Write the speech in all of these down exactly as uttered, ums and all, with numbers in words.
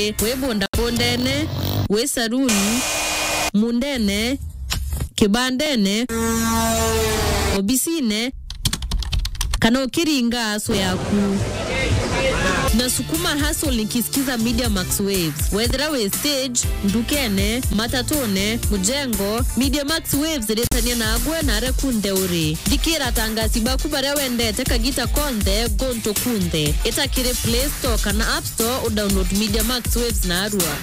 wi bundabundene, wi saruni, mundene, kibandene, obisine, kana ukiringa aso yaku. Nasukuma hustle nikisikiza Media Max Waves. Wethira wi stage, ndukene, matatune, mujengo, Media Max Waves iritania nagwe na aria kunthe uri. Thikira atangasi baku baria wendete kagita konthe, guntu kunthe. Ita kiri Play Store kana App Store udownload Media Max Waves narua.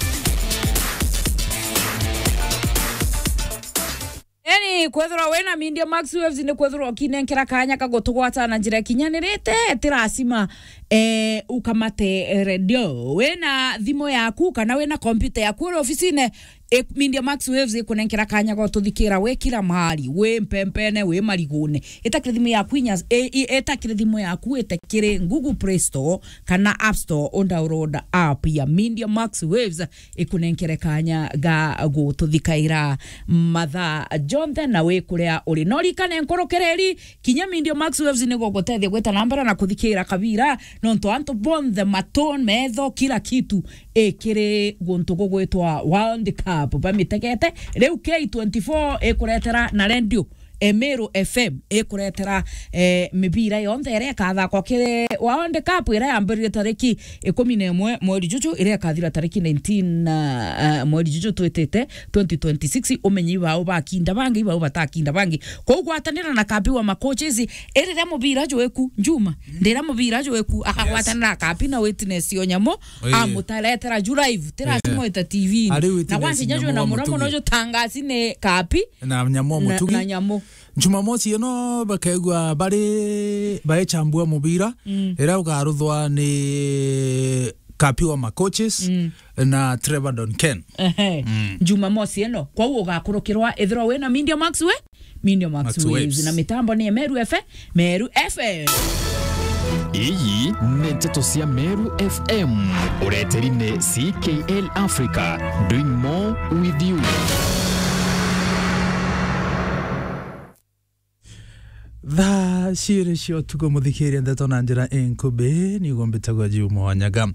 Yaani, kwethirwa wina Media Max Waves ni kwethirwa ukinenkera kanya ka gutugwata na njira ikinyanirite, ti lazima, eh, ukamate, eh, redio. Wina thimu yaku kana wina kompyuta yaku uri ofisine, e, Media Max Waves ikunenkera kanya ga tuthikira wi kila mahali, wi mpempene, wi marigune. Itakire thimu yaku inya, e, i-, itakire thimu yaku, itakire Google Play Store kana App Store, udownload app ya Media Max Waves, ikunenkere kanya ga gututhikaira mathaa jonthe na wi kuria uri. No rikane nkurukireri, kinya Media Max Waves ni gugutethia gwita na mbere na kuthikira kabira, nontu antu bonthe, matu, metho, kila kitu ikiri guntu gugwitwa World Cup bamitegete. Riu K twenty-four ikuretera na redio, e, Meru F M ikuretera, e, mibira yonthe iria ikathakwa kiri World Cup iria yambirire tariki ikumi na imwe mweri juju, iria ikathira tariki nineteen, a, a, mweri juju twitite, twenty twenty-six. Umenye ibau bakinda bangi, ibau batakinda bangi. Kou gwatanira na kambi wa macoaches, iriria mubira jwiku, Juma, ndira mubira jwiku, akagwatanira na kambi na witness yo nyamu, Oi. Amutaretera ju live, ti lazima wite T V. Ari witness na gwansi nyamu jwe na wa muromo mutugi. No jutangasi ni kambi Na nyamu wa na, mutugi. Na nyamu. Jumamosi ino bakaigua bari baichambua mubira, Mm. iria ukaruthwa ni Kapi wa Macoaches Mm. na Trevor Don Ken. Ehe. Mm. Jumamosi ino, kwou ugakurukirwa ithirwa wina Media Max we? Media Max Max Waves. Waves. Na mitambo ni Meru F M, Meru F M. Iyi ni nteto cia Meru F M. Ureteri ni C K L Africa, doing more with you. Thaa ciiri cia utuku, muthikiria ndeto na njira inkubi, niguo mbitagwa Juma Wanyaga.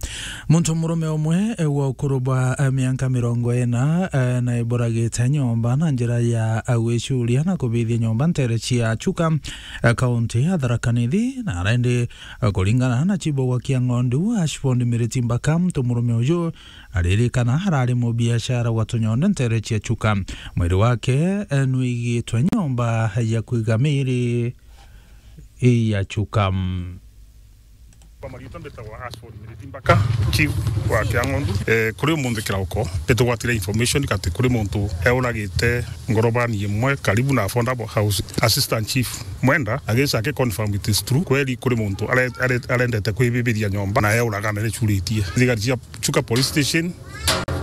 Muntu murume umwe, eh, wa ukuru bwa, eh, mianka mirongo ina, eh, na iburagite nyomba na njira ya, eh, gwicuria na kubithia nyomba ntere cia Chuka, eh, kaunti ya Tharaka Nithi, na arendi, eh, kuringana na chibo gwa Kiang'ondu, Ashford Miriti Mbaka, muntu murume uju aririkana arari mubiashara wa tunyondo ntere cia Chuka. Mwiri wake, eh, nwigitwe nyomba ya kwiga miri ya Chuka. Kwa mariitwa mbitagwa Ashford Miriti Mbaka, chief wa Kiang'ondu. Eh, kuri umunthi kirauko, nitugwatire information ati kuri muntu euragite ngorobani imwe karibu na Affordable House. Assistant Chief Mwenda agisa aki confirm it is true. Kweri kuri muntu are-, are-, arendete kwibibiria nyomba na euraga na nicuritie. Thigari cia Chuka Police Station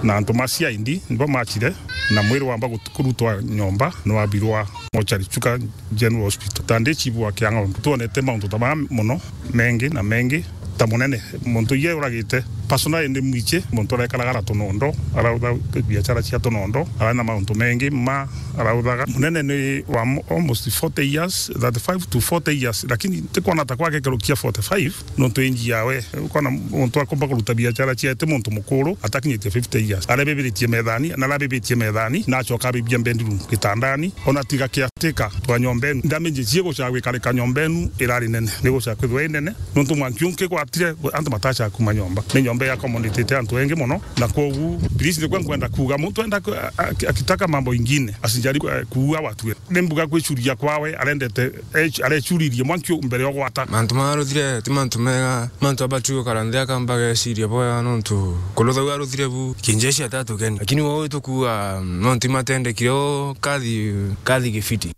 na antu ma C I D nibo machire na mwiri wamba gut-, kurutwa nyomba, nwabirwa mochari Chuka General Hospital. Ta ndi chief wa Kiang'ondu, twonete mauntu ta maya mono, mengi na mengi, ta munene. Muntu iye uragite, personally ndi mwichi, muntu arekaraga ara tunondo, arautha biashara cia tunondo, arari na mauntu mengi ma arauthaga. Munene ni wa mo-, almost forty years, thirty-five to forty years, lakini tikwona ta kwake kerukia forty-five, nontu inji yawe, ukona muntu akomba kuruta biashara ciae ti muntu mukuru, atakinyite fifty years. Arebebiritie methani, na arabebitie methani, na acoka abibia bedroom, gitandani, ona tiga caretaker twa nyomba enu. Ndamiji cie gucaa gwikarika nyomba enu irari nene, ni gucaa kwithwa i nene, nontu mwanki unki gwatire, antu matacha kuma nyomba. Ni nyomba ya accommodate antu engi mono, na kwogu, please, nikwe nkwenda kuuga, muntu enda ku-, a-, a-, akitaka mambo ingine, asijaribu, eh, kuua watu. Ni mbuga gwicuria kwawe, arendete, eh, arechuririe mwanki u mbere ya gwata. Mantu maruthire ti mantu mega, mantu abatu gukara nthi akamba geciria bwega, nontu kuruthau aruthire bu, kinjeshi atatukeni. Lakini wau tukuuga, nontu imatendekire o kathi, kathi gifiti.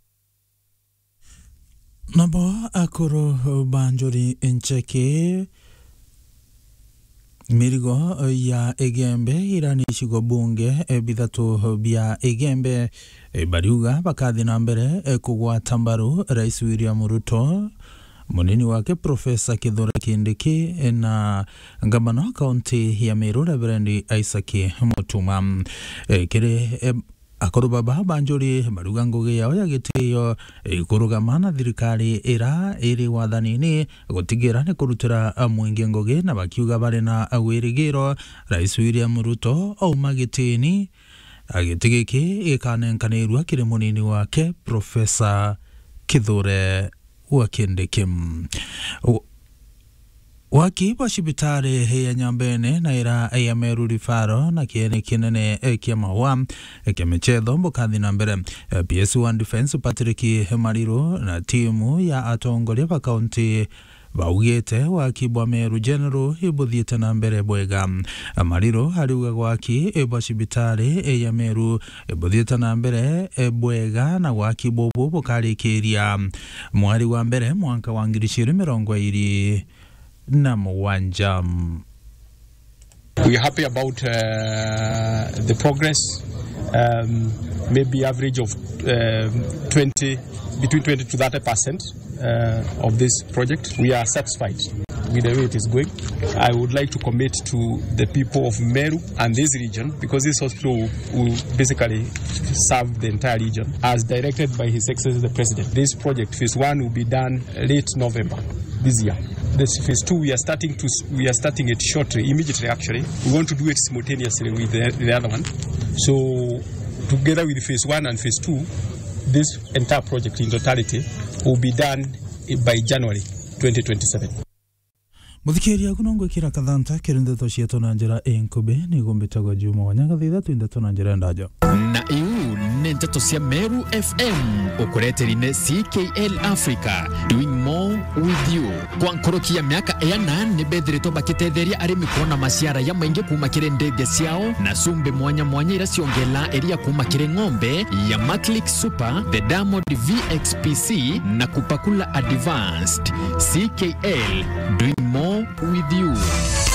Nabo akuru ba Njuri Ncheke, mirigo ya Igembe irani icigo bunge, eh, bithatu bia Igembe, eh, bariuga bakathi na mbere, eh, kugwata mbaru Rais William Ruto, munini wake Professor Kithure Kindiki, eh, na ngavana wa kaunti ya Meru Reverend Isaac Mutuma. Eh, kiri, eh, Akuru baba ba njuri baruga ngugi yao ya gitio ikurugama na thirikari ira iri wathanini gutigira ni kurutira mwingi ngugi, na bakiuga bari na wirigiro Rais William Ruto auma gitini, giti giki gikanenkanirua kiri munini wake Professor Kithure wa Kindiki. U-, waki bwa cibitari ya Nyambene na ira ya Meru Referral na kiene kinene kia Maua kia michetho bukathi na mbere. P S one Defence Patrick Mariru na timu ya atongoria ba kaunti baugite waki bwa Meru General ibuthiite na mbere bwega. Mariru ariuga gwaki bwa cibitari ya Meru ibuthiite na mbere bwega na gwaki bubu bukarikiria mweri wa mbere mwanka wa ngiri igiri mirongo iri na mugwanja. We are happy about, uh, the progress, um, maybe average of, um, twenty, between twenty to thirty percent, uh, of this project. We are satisfied with the way it is going. I would like to commit to the people of Meru and this region, because this hospital will, will basically serve the entire region, as directed by His Excellency the President. This project, phase one, will be done late November this year. This phase two, we are starting to s-, we are starting it shortly, immediately actually. We want to do it simultaneously with the, the other one. So together with phase one and phase two, this entire project in totality will be done by January twenty twenty-seven. Muthikiria, agu no ngwikira kathanta kiri ndeto cietu na njira inkubi. Nigo mbitagwa Juma Wanyaga, thitha twi ndeto na njira ndaja. Na iu ni nteto cia Meru F M, ukureteri ni C K L Africa, doing more with you. Kwa nkuruki ya miaka iana, ni bethiritwe bakitetheria arimi kwona maciara ya maingi kuuma kiri ndege ciao na cumbi mwanya mwanya iria ciongelaa iria kuuma kiri ng'ombe ya Maclick Super, the Diamond V X P C na Kupakula Advanced. C K L, doing more with you.